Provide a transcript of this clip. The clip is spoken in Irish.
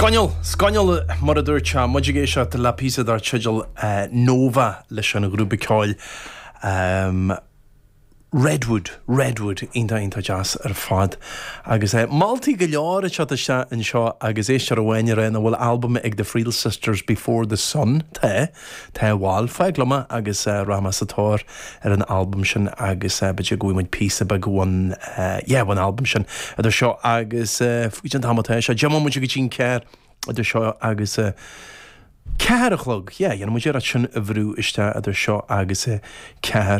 Scannal, scannal, mar a dúirt sé, muid ag éisteacht le píosa dar teideal Nova leis an ghrúpa ceoil Redwood, Redwood, iontach, iontach deas ar fad. Agus moltaí go leor ag teacht isteach anseo agus éisteoir amháin ag rá an bhfuil albam ag The Friel Sisters Before the Sun, tá, tá, bhal, fág liom é agus rachaidh mé sa tóir ar an albam sin agus b'fhéidir go bhfaighidh muid píosa beag ón, yeah, ón albam sin idir seo agus faoi an t-am atá sé, 10 mbomaite go dtí an ceathair idir seo agus 4 a chlog, yeah, dhéanfaidh muid iarracht sin a bhrú isteach idir seo agus 4.